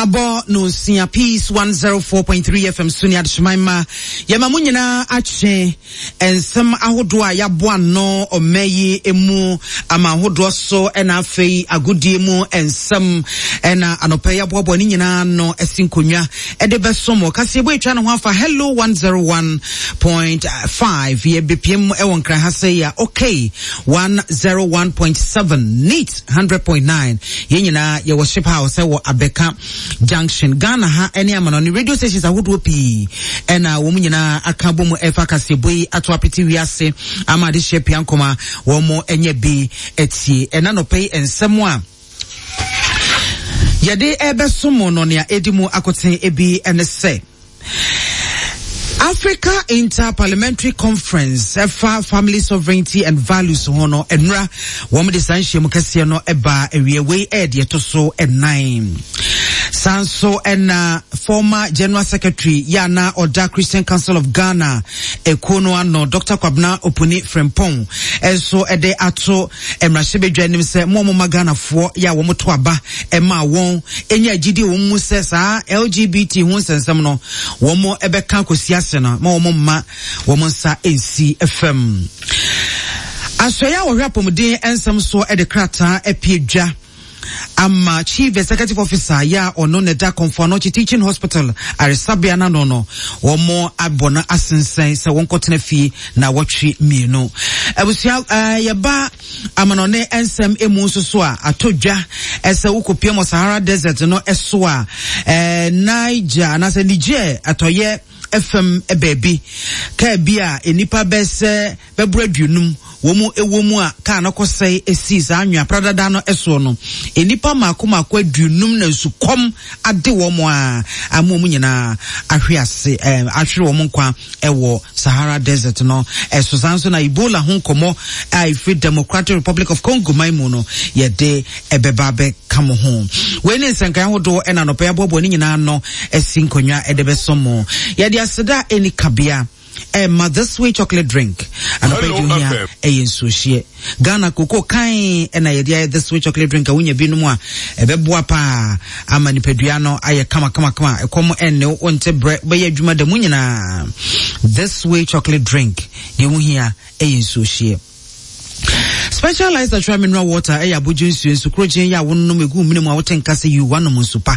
Abɔ no nsia Peace 104.3 FM so ne adehyeman ma yɛma mo nyinaa akye nsɛm ahodoɔ a yɛaboa ano ɔma yi mu ama ahodoɔ so ɛna afei agodie mu nsɛm ɛna anɔpɛ yɛaboaboa ne nyinaa no asi nkonnwa ɛde bɛso mo kaseɛbɔ atwa ne ho afa Hello 101.5 yɛbɛpiem ɛwɔ nkran ha sɛ yɛ okay 101.7 neat 100.9 Yɛn nyinaa yɛwɔ Ship House wɔ Abɛka Junction, Ghana ha ne amanɔne radio stations ahodoɔ pii ɛna wɔn nyinaa aka bɔ mu ɛfa kaseɛbɔ yi ato apete wiase ama adehyeɛ pia nkɔma wɔn anya bi atie. Ɛna nɔpɛ yi nsɛm a yɛde ɛbɛso mo no nea ɛdi mu akoten ebi ne sɛ Africa Inter-Parliamentary Conference ɛfa Family Sovereignty and Values ho no nnura wɔn de saa nhyiamu kɛseɛ no ɛbaa awie. Wei ɛyɛ deɛ ɛto so ɛnan. Saa nso ɛna former General Secretary yɛ ana ɔda Christian Council of Ghana ekuo no ano Dr. Kwabena Opuni Frimpong ɛnso ɛde ato mmarahyɛbadwa anim sɛ mo a wɔma Ghanafoɔ yɛ a wɔto aba ɛma wɔn nya gyidie wɔn mu sɛ saa LGBT ho nsɛnsɛm no wɔn ɛbɛka akɔsi ase no ma wɔn mma wɔn nsa nsi fam. Asɔeɛ a wɔhwɛ apɔmuden nsɛm soɔ de krataa apue dwa ama Chief Executive Officer yɛ a ɔno na ɛda Komfo Anokye Teaching Hospital aresabea no ano no, wɔn abɔ no asensɛn sɛ wɔnkɔtena fie na wɔtwe mmienu. Abusua eh, yɛba amanɔne nsɛm emu nso so a atɔ dwa sɛ wokɔpia mu Sahara Desert no so a eh, Niger anaasɛ Niger atɔyɛ fam baabi kaa bi a nnipa bɛsɛ bɛboro aduonum wɔn mu wɔ mu a kaa no kɔsɛe sii saa anwea pradada no soɔ no, nnipa mmaako mmaako aduonum na nsukɔm ade wɔn a ama wɔn nyinaa ahwe ase eh, ahwere wɔn nkwa wɔ Sahara Desert no so. Saa nso na Ebola ho nkɔmmɔ a ɛfiri Democratic Republic of Congo man mu no yɛde ɛbɛba abɛka mo ho. Wei ne nsɛnkae ahodoɔ ɛna anɔpa yɛaboaboa ne nyinaa no asi nkonnwa ɛde bɛsɔ mo. Yɛde aseda a ɛni kabea ɛma This Way chocolate drink. Anɔpa yi deɛ ohia ɛyɛ nsuohyeɛ. Ghana koko kan ɛna yɛde ayɛ This Way chocolate drink a wonya binom a ɛbɛboa paa ama nipadua no ayɛ kama kama kama. Ɛkɔm ɛnne wo nte brɛ wobɛyɛ adwuma da mu nyinaa. This Way chocolate drink deɛ wohia ɛyɛ nsuohyeɛ. Specialized natural mineral water ɛyɛ abodwo nsuo nsu korogyen yɛ a wonom egu mene mu a wote nka sɛ yiw wanom nsu pa.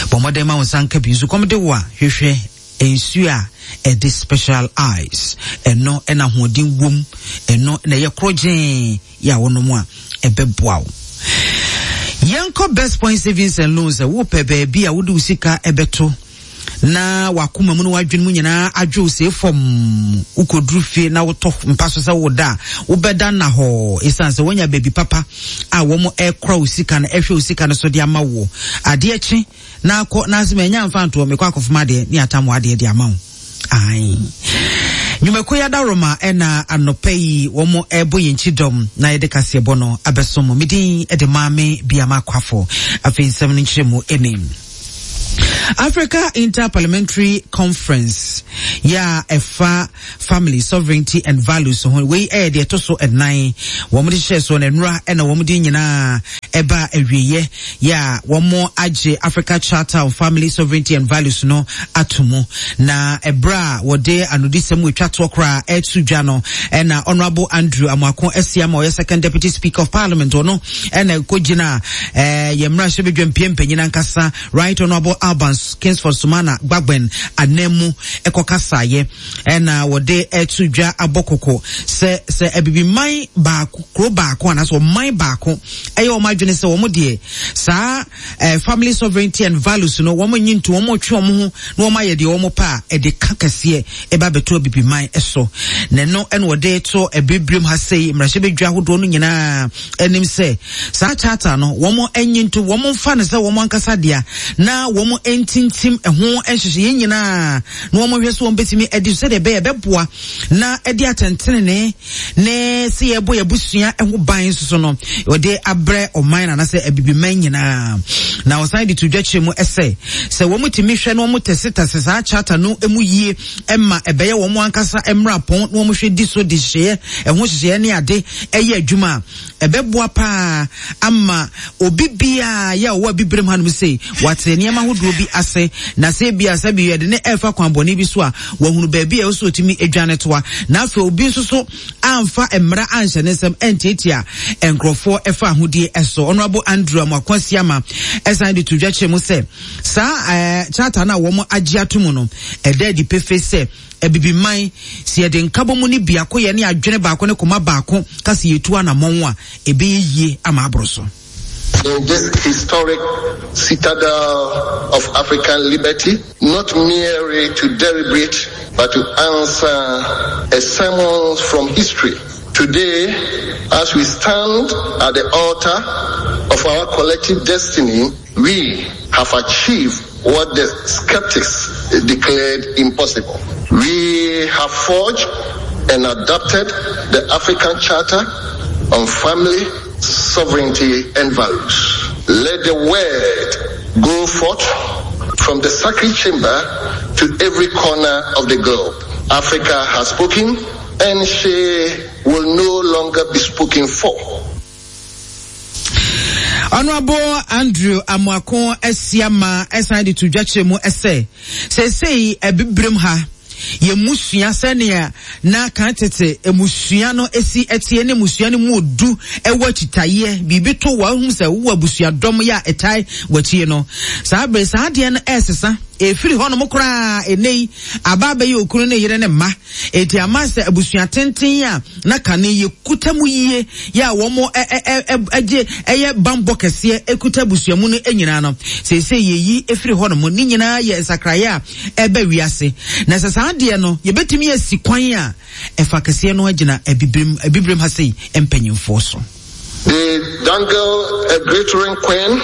Bɔ mmɔden ma wo nsa nka bi. Nsukɔm de wo a hwehwɛ nsuo a ɛde special ice. Ɛno ɛna ahoɔden wom. Ɛno na ɛyɛ korogyen yɛ a wonom a ɛbɛboa wo. Yɛnkɔ Best Point Savings and Loans. Wopɛ baabi a wode wo sika ɛbɛto na wakoma mu ne wadwene mu nyinaa adwo see fam. Wokɔduru fie na wotɔ mpa so sɛ woda a, wobɛda nna hɔ ɛsiane sɛ woanya baabi papa a wɔn ɛkora wo sika no, ɛhwɛ wo sika no so de ama wo. Adeɛ kye na akɔ na asɛm ɛnya mfa ntoɔ mekɔ akɔfom adeɛ ne atam adeɛ de ama wo. Ae. Nnwumakuo yi adaworoma ɛna anɔpa yi wɔn ɛbɔ yɛn kyi dɔm na yɛde kaseɛbɔ no abɛso mo. Medin de Maame Biama Kwafo. Afei nsɛm no nkyerɛ mu ɛni. Africa Inter-Parliamentary Conference yɛ a ɛfa family sovereignty and values ho. Wei ɛyɛ deɛ ɛto so ɛnan. Wɔn de hyɛ soɔ no nnora ɛna wɔn de nyinaa ɛba awieɛ yɛ a wɔn agye Africa Charter on Family Sovereignty and Values no ato mu. Na ɛberɛ a wɔde anodisɛm retwa toɔ koraa ɛto dwa no ɛna Honourable Andrew Amoako Asiamah ɔyɛ Second Deputy Speaker of Parliament ɔno ɛna ɛkɔgyina ɛɛ yɛn mmarahyɛbadwa mpie mpanyin ankasa Right Honourable Alban Kingsford Sumana Gbagben ananmu ɛkɔkasaeɛ ɛna wɔde ɛto dwa abɔ koko sɛ sɛ abibiman baako kuro baako anaasɛ ɔman baako ɛyɛ wɔn adwene sɛ wɔn deɛ saa eh, family sovereignty and values no wɔn nyi nto wɔn twe wɔn ho na wɔn ayɛ deɛ wɔn pɛ a ɛde ka kɛseɛ ɛba abɛto abibiman so na ɛno ɛna wɔde to abibirim ha sei mmarahyɛbadwa ahodoɔ no nyinaa anim sɛ saa charter no wɔn anyi nto wɔn mfa no sɛ wɔn ankasa dea na wɔn ntintim ɛho nhyehyɛeɛ nyinaa na wɔn hwɛ so wɔn bɛtumi adi so sɛdeɛ ɛbɛyɛ ɛbɛboa na ɛde atɛntenene ne sɛ yɛbɔ yɛn abusua ho ban nso so no wɔde abrɛ ɔman na anasɛ abibiman nyinaa. Na ɔsan de to dwa kyerɛ mu sɛ, sɛ wɔtumi hwɛ na wɔtɛsetɛse saa charter no mu yie ma ɛbɛyɛ wɔn ankasa mmarapɔn na wɔhwɛ di so de nhyehyɛeɛ, ɛho nhyehyɛeɛ ne ade yɛ adwuma a, ɛbɛboa paa ama obi biara yɛ a ɔwɔ abibirem hanom sei wate nneɛma ahodoɔ bi ase na sɛ ebia sɛ bi yɛde ne ɛrefa kwan bɔne bi so a wahunu baabi a ɛwɔ sɛ ɔtumi dwane toa na afei obi nso so amfa mmara anhyɛ ne nsam antiatia nkurɔfoɔ ɛfa ahodie ɛso. Honorable Andrew Amoako Asiama ɛsan de to dwa kyerɛ mu sɛ saa ɛɛ charter no a wɔn agye ato mu no ɛda adi pefee sɛ Abibiman, sɛ yɛde nkabɔmu ne biakoyɛ ne adwene baako ne koma baako ka sɛ yɛtu anamɔn a, ɛbɛyɛ yie ama aboro so. In this historic citadel of African liberty, not merely to deliberate, but to answer a summons from history. Today, as we stand at the altar of our collective destiny, we have achieved what the skeptics declared impossible. We have forged and adopted the African Charter on Family, Sovereignty and Values. Let the word go forth from the sacred chamber to every corner of the globe. Africa has spoken and she will no longer be spoken for. Honorable Andrew Amoako Asiama ɛsan de to dwa kyerɛ mu sɛ seesei abibirem ha yɛn mmusua sɛnea na kan tete mmusua no si teɛ ne mmusua no mu odu wɔ akyitayeɛ biribi to wɔ ahum sɛ wowɔ abusuadɔm yɛ a ɛtae w'akyie no saa bere saa adeɛ no ɛresesa ɛfiri hɔnom koraa ɛnɛ yi aba abɛyɛ okunu ne yere ne mma Enti ama sɛ abusua tenten a na kane yɛkuta mu yie yɛ a wɔn gye ɛyɛ bammɔ kɛseɛ kuta abusua mu no nyinaa no, seesei yɛyi firi hɔ nom. Ne nyinaa yɛ nsakraeɛ a ɛba wiase. Na sɛ saa adeɛ no, yɛbɛtumi asi kwan a ɛfa kɛseɛ no agyina Abibirem, Abibirem ha sei mpanyinfoɔ so. They dangle a glittering queen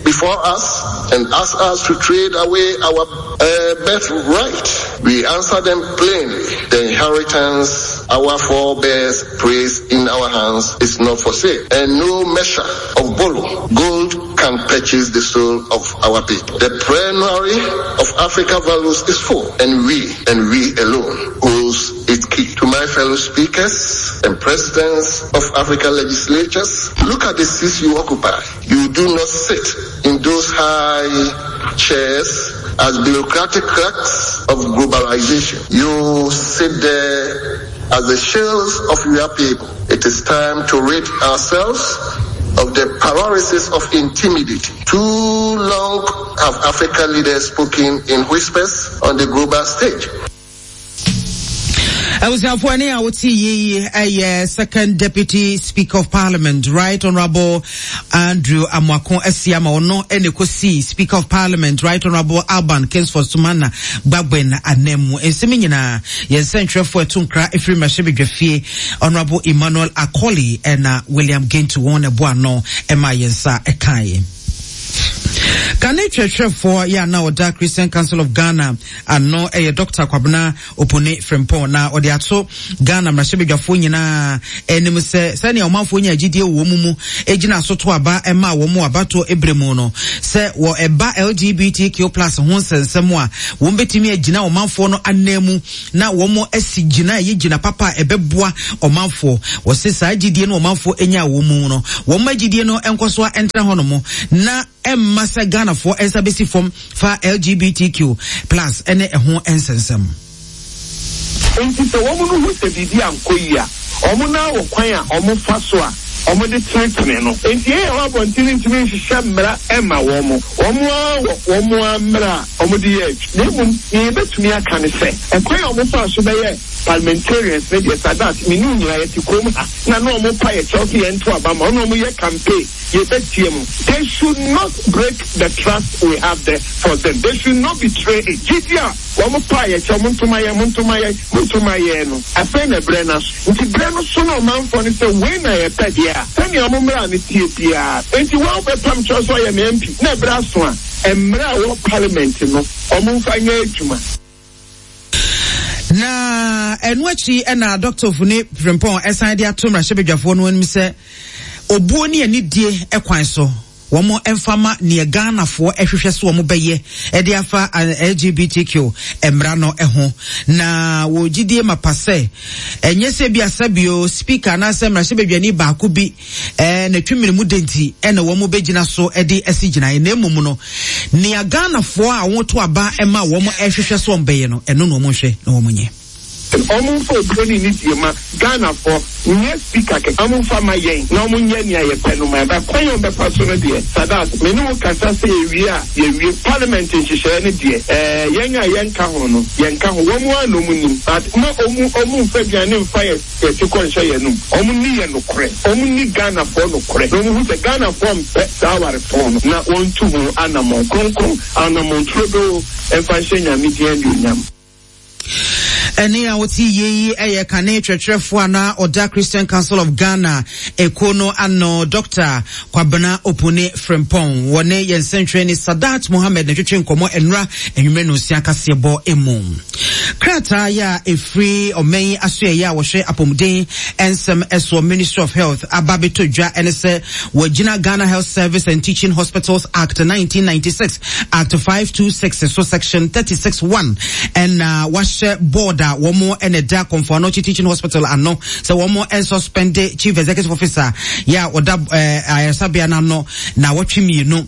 before us and ask us to trade away our uh, birthright. We answer them plainly. The inheritance our forebears placed in our hands is not for sale, and no measure of borrow gold can purchase the soul of our people. The plenary of Africa values is full, and we, and we alone, holds its key. To my fellow speakers and presidents of African legislatures, look at the seats you occupy. You do not sit in those high chairs as bureaucratic clerks of globalization. You sit there as the shells of your people. It is time to rid ourselves of the paralysis of intimidity. Too long have African leaders spoken in whispers on the global stage. Abusuafoɔ ɛne a wote yie yi ɛyɛ second deputy speaker of parliament right honourable Andrew Amoako Asiama ɔno ɛna ɛkɔsii speaker of parliament right honourable Alban Kingsford Sumana Bagbin anan mu nsɛm nyinaa yɛn nsɛntwerɛfoɔ ɛto nkra ɛfiri mmarahyɛbadwafie honourable Emmanuel Akoli ɛna William Gentu wɔn na ɛbɔ ano ɛma yɛn nsa ɛkaeɛ. Kane twerɛtwerɛfoɔ yɛ a na ɔda Christian Council of Ghana ano yɛ Dr. Kwabena Opone Frimpong na ɔde ato Ghana mmarahyɛbadwafoɔ nyinaa anim sɛ sɛnea ɔmanfoɔ nya gyidie wɔ wɔn mu gyina so to aba ma wɔn wɔ abatoɔ berɛ mu no sɛ wɔ ɛba LGBTQ plus ho nsɛnsɛm a wɔn bɛtumi agyina ɔmanfoɔ no anan mu na wɔn asi gyina ɛyɛ gyina papa a ɛbɛboa ɔmanfoɔ. Wɔse saa gyidie no ɔmanfoɔ nya wɔn mu no wɔn ma gyidie no nkɔ so ntra hɔ nom na ɛmma sɛ Ghanafoɔ nsa bɛsi fam fa LGBTQ plus ne ɛho nsɛnsɛm. Enti sɛ wɔn no hu sɛ biribi ankɔ yie a, wɔn no ara wɔ kwan a wɔfa so a wɔde tenetene no. Enti yɛn a yɛwɔ abɔnten no ntumi nhyehyɛ mmara mma wɔn. Wɔn ara wɔ wɔn ara mmara a wɔde yɛ adwuma. Na mmom nea yɛbɛtumi aka ne sɛ, ɛkwan a wɔfaa so bɛyɛɛ parliamentarians no deɛ, Sadat, me ne wo nyinaa yɛte kurom ha na na wɔpa yɛn kyɛw sɛ yɛnto aba mma wɔn na wɔyɛ campaign. Yɛbɛtie mo. They should not break the trust we have there for them. They should not betray it. Gyidi a wɔn paa yɛ kyɛw, monto ma yɛn, monto ma yɛn, monto ma yɛn no, afei na berɛ no aso. Nti berɛ no so na ɔmanfoɔ no sɛ wei na yɛpɛ deɛ a, sɛnea wɔn mmara no teɛ biara. Nti wo a wobɛpam kyɛw sɛ ɔyɛ me MP na ɛberɛ aso a, mmara a ɛwɔ parliament no, wɔn mfa nyɛ adwuma. Na ɛno akyi na Dr. Ofuni Frimpong ɛsan de ato mmarahyɛbadwafoɔ no anim sɛ obuo ne anidie kwan so. wɔn mfa ma neɛ Ghanafoɔ hwehwɛ sɛ wɔn bɛyɛ de afa LGBTQ mmara no ho. Na wɔ gyidie mapa sɛ ɛnyɛ sɛ bi asɛbio speaker anaasɛ mmarahyɛbadwani baako bi eh, na twemene mu de nti ɛna wɔn bɛgyina so de asi gyinaeɛ na mmom no nea Ghanafoɔ a wɔto aba ma wɔn hwehwɛ sɛ wɔn bɛyɛ no ɛno na wɔn nhwɛ na wɔn nyɛ. Ɔmo nfa obuo ne nidie ma Ghanafoɔ, nyɛ speaker kɛkɛ. Ɔmo nfa ma yɛn na ɔmo nyɛ nea yɛpɛ no ma yɛn. But kwan a ɔmo bɛfa so no deɛ, Sadat, me ne wo kasa sɛ yɛwie a, yɛawie. Parliament nhyehyɛeɛ no deɛ, ɛɛ, yɛn a yɛnka ho no, yɛnka ho. Wɔn ara na ɔmo nim. But ma ɔmo, ɔmo nfa aduane nfa yɛn yɛn ti kɔ nhyɛ yɛn anom. Ɔmo nni yɛn nokorɛ. Ɔmo nni Ghanafoɔ nokorɛ. Na ɔmo hu sɛ Ghanafoɔ mpɛ saa awarefɔɔ no, na wɔntu ho anamɔn kronkron, anamɔn turodoo mfa nhyɛ Nyame din anuonyam. Ɛne a wote yie yi yɛ kane twerɛtwerɛfoɔ a na ɔda Christian Council of Ghana ekuo no ano Dr. Kwabena Opone Frimpong. Wɔne yɛn nsɛntwerɛni Sadat Mohammed na twetwe nkɔmmɔ nnora anwummerɛ no nsia kaseɛbɔ mu. Krataa yɛ a ɛfiri ɔman yi asoɛeɛ a wɔhwɛ apɔmuden nsɛm soɔ Ministry of Health aba bɛtɔ dwa ne sɛ wɔagyina Ghana Health Service and Teaching Hospitals Act 1996 Act 526 so Section 36 1 ɛna wahyɛ board a wɔn ɛna ɛda Komfo Anokye Teaching Hospital ano sɛ wɔn ɛnsuspende Chief Executive Officer yɛ a ɔda ɛɛ ayaresabea no ano na wɔtwe mmienu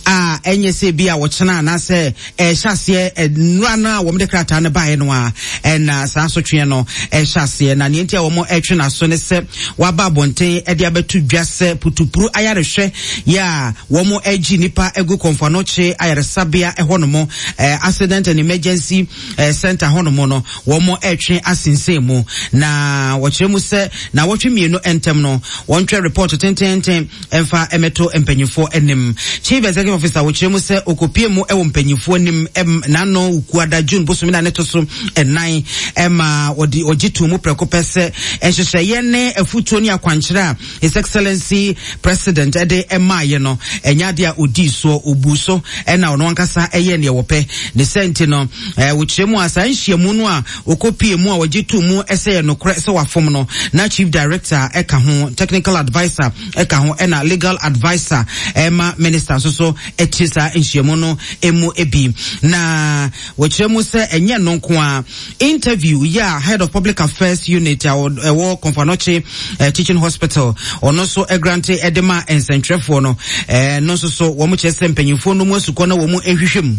a ɛnyɛ sɛ bi a wɔkyena anaasɛ ɛhyɛ aseɛ nnura no a wɔn de krataa no baeɛ no a ɛna saa asotweɛ no ɛhyɛ aseɛ na nea nti a wɔn ɛtwe n'aso ne sɛ waba abɔnten ɛde abɛto dwa sɛ putupuru ayarehwɛ yɛ a Wɔagye nnipa agu Komfo-Anokye ayaresabea hɔnom, Accident and Emergency Center hɔnom no, wɔretwe asensɛn mu. Na wɔkyerɛ mu sɛ naawɔtwe mmienu ntam no, wɔntwerɛ report tenteenten mfa mmɛto mpanyinfoɔ anim. Chief Executive Officer wɔkyerɛ mu sɛ ɔkɔpie mu wɔ mpanyinfoɔ anim n'ano Wukuada June bosome na ne to so ɛnan ma wɔde ɔgye too mu prɛko pɛ sɛ nhyehyɛeɛ ne afutuo ne akwankyerɛ a His Excellency President de maaeɛ no, ɛnyɛ adeɛ a ɔdii soɔ, ɔbuu so ɛna ɔno ankasa ɛyɛɛ neɛ wɔpɛ. Ne sɛ nti no, wɔkyerɛ mu a saa nhyiamu no a ɔkɔpie mu a wɔgye too mu sɛ yɛ nokorɛ sɛ wafom no, na Chief Director ɛka ho, Technical Adviser ɛka ho, ɛna Legal Adviser ɛma Minister nso so ɛte saa nhyiamu no mu bi. Na wɔkyerɛ mu sɛ ɛnyɛ no nko ara, Interview yɛ a Head of Public Affairs Unit a ɛwɔ Komfo Anokye eh, Teaching Hospital ɔno nso grante de ma nsɛntwerɛfoɔ no eh, no nso so wɔn kyerɛ sɛ mpanyinfoɔ no mu asukɔ na wɔn nhwehwɛ mu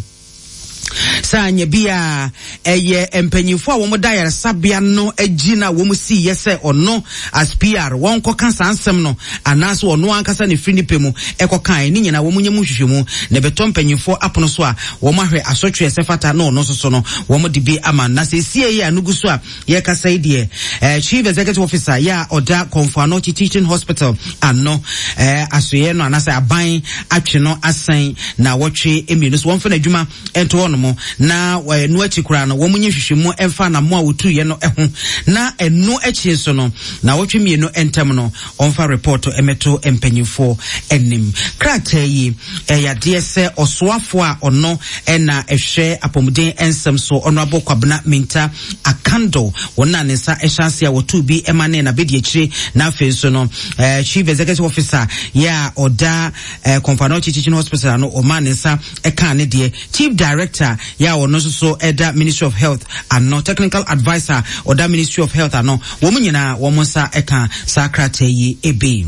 sɛ anyɛ bi a ɛyɛ mpanyinfoɔ a wɔn da ayaresabea no akyi na wɔn si yɛ sɛ ɔno as PR wɔn kɔka saa nsɛm no anaasɛ ɔno ankasa ne firi ne pɛ mu ɛkɔkae ne nyinaa wɔn nyɛ mu nhwehwɛmu na ɛbɛtɔ mpanyinfoɔ apono so a wɔn ahwɛ asotwe ɛsɛ fata na ɔno nso so no wɔn de bi ama na sɛsie yi a no gu so a yɛkasa yi deɛ eh, Chief Executive Officer yɛ a ɔda Komfo Anokye Teaching Hospital ano eh, asoeɛ no anaasɛ aban atwe no asan na wɔtwe mmienu so wɔmfa no adwuma nto hɔ nom na ɛno akyi koraa no wɔn nyɛ nhwehwɛmu mfa anammo a wɔtuiɛ no ho na ɛno akyi nso no na wɔtwe mmienu ntam no ɔmfa report mmɛto mpanyinfoɔ anim. Krataa yi ɛyɛ adeɛ sɛ ɔsoafoɔ a ɔno ɛna ɛhwɛ apɔmuden nsɛm so Honourable Kwabena Minta Akando wɔn na ne nsa ɛhyɛ ase a wɔtoo bi ɛma ne na bɛdi akyire na afei nso no eh, Chief Executive Officer yɛ a ɔda eh, Komfo Anokye Teaching Hospital ano ɔma ne nsa ɛkaa ne deɛ Chief Director yɛ a ɔno nso so ɛda Ministry of Health ano Technical Adviser ɔda Ministry of Health ano Wɔn nyinaa wɔn nsa ka saa krataa yi bi.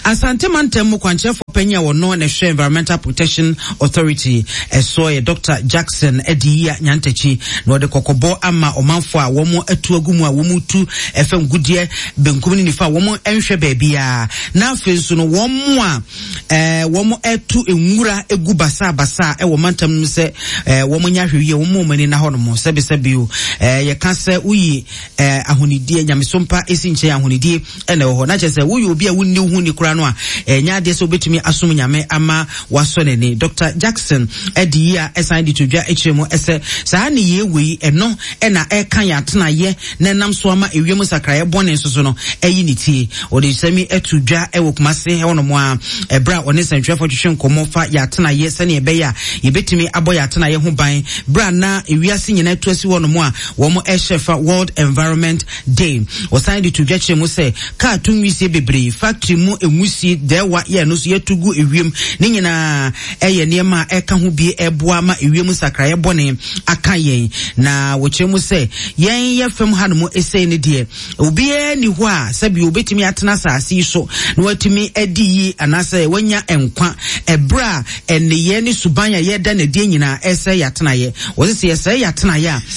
Asante mantam mu kwankyerɛfoɔ panyin a wɔno na ɛhwɛ Environmental Protection Authority ɛsoɔ yɛ Dr. Jackson Adiyia Nyantakyi na ɔde kɔkɔbɔ ama ɔmanfoɔ a wɔn atu agu mu a wɔn tu ɛfam gudeɛ benkum ne nifa a wɔn nhwɛ baabiara na afei nso no wɔn a ɛɛ wɔn ɛto nwura egu basabasa ɛwɔ mantam no mu sɛ ɛɛ wɔn nyɛ ahwɛyie wɔn mu wɔn ani na hɔ nom sɛbisɛbi o ɛɛ yɛka sɛ woyi ɛɛ ahonidie nyamesompa esi nkyɛn ahonidie ɛna ɛwɔ hɔ na kyerɛ sɛ woyɛ obi a wonni ho ni koraa no a ɛnyɛ adeɛ sɛ wobɛtumi asom nyame ama wasɔ n'ani Dr. Jackson ɛde yi a ɛsan de to dwa akyerɛ mu ɛsɛ saa ne yie wei ɛno ɛna ɛka yɛn atenayɛ na ɛnam so ama ewiem nsakraeɛ bɔne nso so no ayi ne tie. Ɔde nsɛm yi ato dwa wɔ Kumase hɔnom a ɛberɛ a ɔne nsɛntwerɛfoɔ twetwe nkɔmmɔ fa yɛn atenaeɛ sɛdeɛ ɛbɛyɛ a yɛbɛtumi abɔ yɛn atenaeɛ ho ban berɛ a na ewiase nyinaa atu asi hɔnom a wɔn ɛhyɛ fa World Environment Day. Ɔsan de to dwa kyerɛ mu sɛ kaa to nwisie bebree, factory mu nwusie dɛɛwa yɛ ɛno nso yɛtu gu ewiem ne nyinaa ɛyɛ nneɛma a ɛka ho bi ɛboa ma ewiem nsakraeɛ bɔne aka yɛn. Na wɔkyerɛ mu sɛ yɛn yɛ fam hanom esei ne deɛ obiara ni hɔ a sɛbi obetumi atena asase yi so na watumi adi yie anaasɛ wanya nkwa ɛberɛ a nneyɛɛ ne suban a yɛda n'adie nyinaa ɛsɛ yɛatenaeɛ. Wɔse sɛ yɛsɛe yɛatenaeɛ a.